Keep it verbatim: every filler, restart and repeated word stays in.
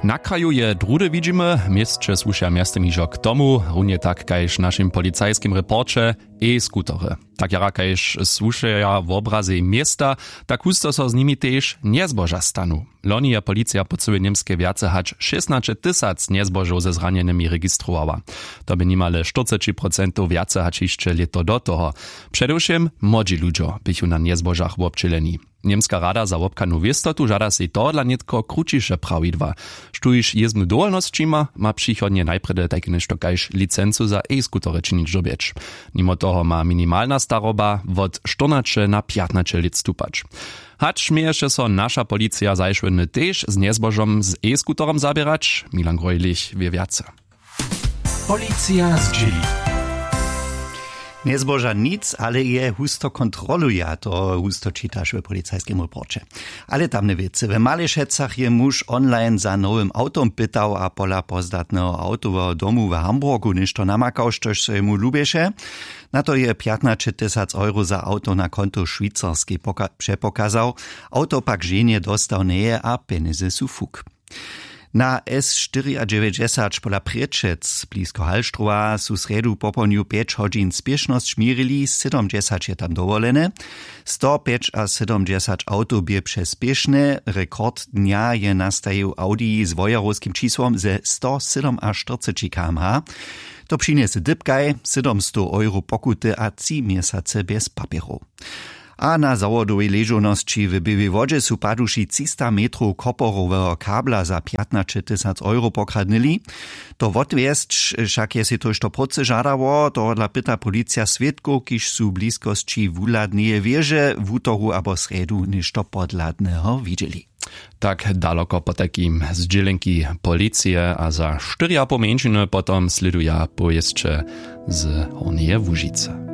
Na kraju je druhdy widźimy, měsće słušeja mjeztym hižo k tomu, runje tak kaž w našim policajskim reporće, e-skutery. Tak jara kaž słušeja wobrazej města, tak husto so z nimi tež njezboža stanu. Loni je policija po cyłej němskej wjace hač šěstnaće tysac njezbožow ze zranjenymi registrowała. To bě nimale štyrceći procentow wjace hač hišće lěto do toho. Předewšěm młodźi ludźo běchu na njezbožach wobdźěleni. Němska rada za wobchadnu wěstotu žada sej tohodla nětko krućiše prawidła. Štóž jězbnu dowolnosći ma, ma přichodnje najprjedy tajke něšto kaž licencu za e-skutery činić dyrbjeć. Nimo toho ma minimalna staroba wot štyrnaće na pjatnaće lět stupać. Hač měješe so naša policija zašłodny tež z njezbožom z e-skuterom zaběrać, Milan Grojlich wě wjace. Policija zdźěli. Njezboža nic, ale je husto kontroluja, to husto čitaš w policajskim reporće. Ale tamne wěcy. W Malešecach je muž online za nowym awtom pytał a pola pozdatneho awtoweho domu w Hamburgu něšto namakał, štož so jemu lubješe. Na to je pjatnaće tysac euro za awto na konto w Šwicarskej poka-, přepokazał. Awto pak ženje dostał njeje a pjenjezy su fuk. Na S štyriadźewjećdźesać pola Prěčec blisko Hallstrowa su srjedu popołdnju pjeć hodźin spěšnosć měrili, sydomdźesać je tam dowolene. Sto pjećasydomdźesać awtow bě přespěšne. Rekord dnja je nastajił Audi z wojerowskim čisłom ze sto sydomaštyrceći km/h. To přinjese dypkaj, sydomstow euro pokuty a tři měsace bjez papjerow. A na zawodowej ležownosći w Běłej Wodźe su paduši třista metrow koporoweho kabla za pjatnaće tysac euro pokradnyli. To wotwjesć wšak je sej tójšto prócy žadało, tohodla pyta policija swědkow, kiž su w bliskosći wuhladneje wěže wutoru abo srjedu něšto podhladneho widźeli. Tak daloko potajkim zdźělenki policije a za štyri a poł mjeńšiny potom slěduja powěsće z Hornjeje Łužicy.